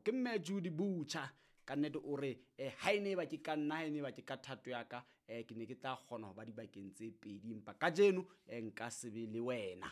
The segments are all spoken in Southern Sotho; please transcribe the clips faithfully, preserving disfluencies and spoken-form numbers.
Ke mme Judy Butcher ka nnete o re eh, ha e ne ba ke ka nna, ha e ne ba ke ka thato ya ka, eh, ke ne ke tla kgona ho ba dibakeng tse pedi, empa kajeno eh, nka se be le wena,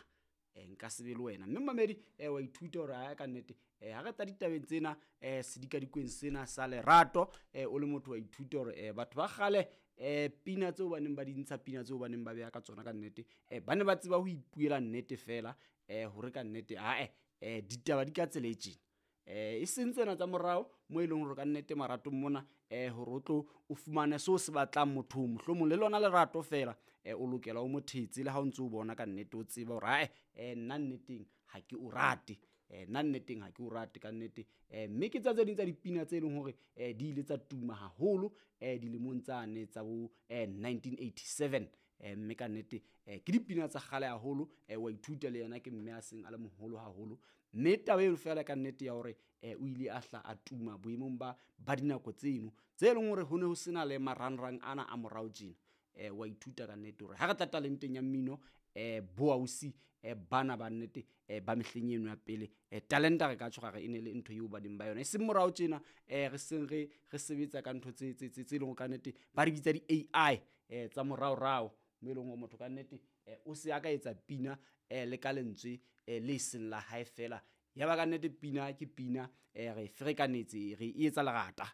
eh, nka se be le wena. Mme mamedi eh, wa ithuta hore ha ka nnete eh, ha re tla ditabeng tsena eh, sedikadikweng sena sa lerato, eh, o le motho wa ithuta hore eh, batho ba kgale eh, pina tseo ba neng ba di ntsha, pina tseo ba neng ba beha ka tsona ka nnete, eh, ba ne ba tseba ho ipuela nnete fela, eh, hore ka nnete ae eh, ditaba di ka tsela e tjena. Eh, e seng tsena tsa morao mo e leng hore ka nnete maratong mona, eh, hore o tlo o fumane seo se batlang mothong, mohlomong le lona lerato fela, eh, o lokela o mo thetse le ha o ntso o bona ka nnete o tseba hore ae, eh, nna nneteng ha ke o rate, eh, nna nneteng ha ke o rate ka nnete. Eh, mme ke tsa tse ding tsa dipina tse leng hore, eh, di ile tsa tuma haholo, eh, dilemong tsane tsa bo, eh, nineteen eighty-seven. Eh, mme ka nnete, eh, ke dipina tsa kgale haholo, eh, wa ithuta le yena ke mme a seng a le moholo haholo. Mme taba eno fela ka nnete ya hore, eh, o ile a hla a tuma boemong ba, ba dinako tseno tse leng hore ho ne ho sena le marangrang ana a morao tjena. Eh, wa ithuta ka nnete hore ha re tla talenteng ya mmino, eh, bo ausi, eh, bana ba nnete, eh, ba mehleng eno ya pele, eh, talenta re ka tjho re e ne le ntho eo ba neng ba yona. E seng morao tjena, eh, re seng re, re sebetsa ka ntho tse, tse, tse, tse leng hore ka nnete ba re bitsa di-A I, eh, tsa moraorao, mo e leng hore motho ka nnete, eh, o se a ka etsa pina, eh, le ka lentswe, eh, le seng la hae fela. Ya ba ka nnete pina ke pina, eh, re ferekanetse, re e etsa lerata.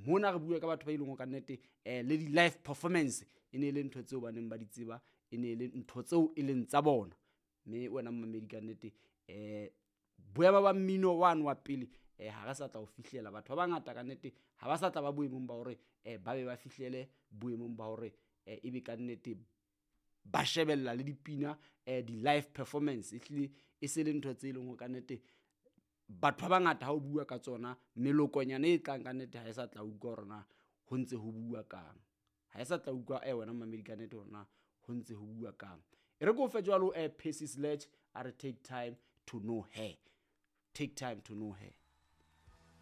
Mona re bua ka batho ba e leng hore ka nnete, eh, le di-live performance e ne e le ntho tseo ba neng ba di tseba, e ne e le ntho tseo e leng tsa bona. Mme wena mmamedi ka nnete, eh, boemo ba mmino wane wa pele, eh, ha re sa tla o fihlela. Batho ba bangata ka nnete ha ba sa tla ba boemong ba hore, eh, ba be ba fihlele boemong ba hore, eh, ebe ka nnete ba shebella le dipina, eh, di-live performance. Ehlile e se le ntho tse leng hore ka nnete batho ba bangata ha o bua ka tsona, melokonyana e tlang ka nnete ha e sa tla utlwa hore na ho ntse ho bua kang. Ha e sa tla utlwa, eh, wena mmamedi ka nnete hore na ho ntse ho bua kang. E re ke o fe jwalo, eh, Percy Sledge a re take time to know her. Take time to know her.